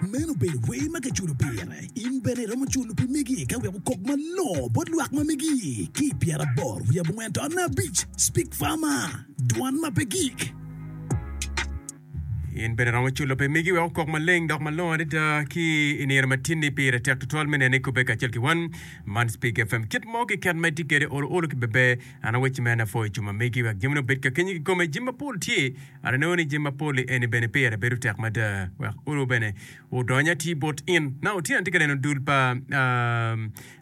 Meno obedo wer ma kiculo pire. In bene iromo culo pi megi ka wek okok malongo bot lwak ma megi ki i pyeraboro wiye abongwen tonne abic. Speak Farmer, Dwan ma pe gik. In bene iromo culo pi megi wek okok maleng dok malongo adada ki i nino ma tinni. Pire tek tutwal me nene kubbe kacel ki wan. Man Speak FM. Kit mo keken ma itye kwede olo olo ki beber. An awecci mere ni apwoyo cuma megi wek jamine obed ka kenyi kikome. Jami mapol tye. An anongo ni jami mapol-li eni bene pire bedo tek mada wek olo bene odony atir bot in. Na otyeno atye ka neno dul pa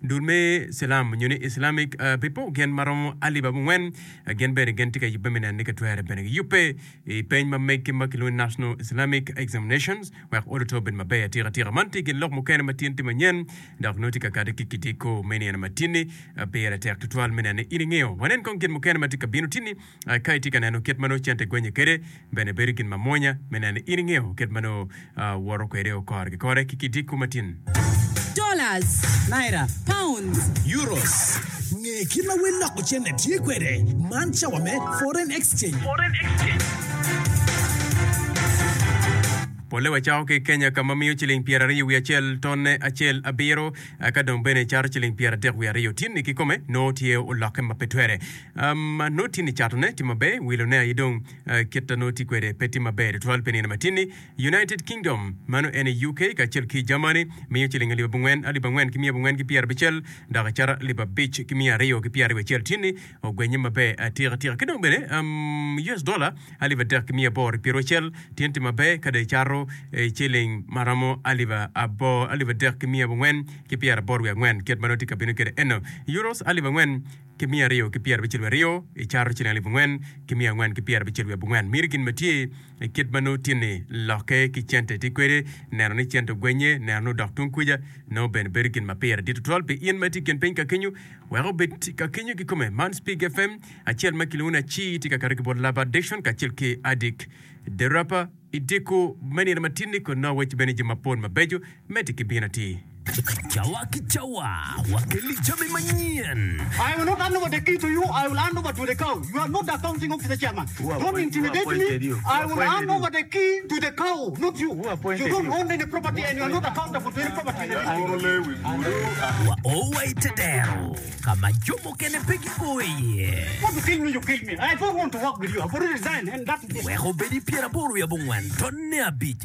dul me Cilam nyo ni Islamic people gin ma romo alip abongwen gin bene gin tye ka yubbe me neno ni ka twere bene giyubbe i peny ma meggi ma kilwongo ni National Islamic Examinations wek olo to obed maber atika tika. Man tye gin lok mukene ma tin tye manyen dok nongo tye ka kati ki kidiko me nino ma tinni pire tek tutwal me neno ni in ingeyo. Wanen kong gin mukene ma tye ka bino tinni ka itye ka neno kit ma nongo cente gwenye kwede bene bedo gin mamwonya me neno ni in ingeyo kit ma nongo woto kwede kore ki kore ki kidiko matin. Dollars. Naira. Pounds. Euros. Nge kit ma wel loko cente tye kwede. Man cawa me Foreign Exchange. Polle wacako ki i Kenya ka ma miyo ciling pyeraryo wiye acel tonne acel abiro ka dong bene cato ciling pyeradek wiye aryo. Tinni kikome nongo tye olokke ma pe twere. Nongo tinni catone tye maber, wilone aye dong kit ma nongo tye kwede pe tye maber tutwal pi nino ma tinni. United Kingdom, mano en aye UK, kacel ki Germany miyo ciling alip abongwen, alip angwen ki miya abongwen ki pyerabicel, dok acata alip abic ki miya aryo ki pyeraryo acel. Tinni ogwenye maber atika tika. Ki dong bene US dollar alip adek ki miya aboro ki pyeraucel tyen tye maber ka dong icato ciling ma romo alip aboro, alip adek ki miya abongwen ki pyeraboro wiye angwen kit ma nongo tye ka bino kwede eno. Euros alip angwen ki miya aryo ki pyerabicel wiye aryo icato ciling alip angwen ki miya angwen ki pyerabicel wiye abongwen. Miti gin ma tye I kit ma nongo tye-ni, lokke ki cente tye kwede, neno ni cente ogwenye, neno ni odok tung kuca, nongo bene bedo gin ma pire dit tutwal pi in ma itye i kin piny ka kenyo, wek obed ka kenyo kikome. Man Spig FM, acel ma kilwongo ni Acii tye ka kato ki bot Laba Addiction kacel ki Adik The Rapper. I dyeko me nino matin-ni kun nongo awecci bene jami mapol mabeco medde ki bino atir. Cawa ki cawa wakelli jami manyen. I will not hand over the key to you, I will hand over to the cow. You are not the accounting officer chairman. Don't intimidate me. I will hand over the key to the cow, not you. You don't own any property and you are not accountable to any property in the district. Wa o wa i te dero ka ma jo mukene pe gio iye. Want to kill me, you kill me. I don't want to work with you. I've already resigned and that is it. Wek obed i pyeraboro wiye abongwen tonne abic.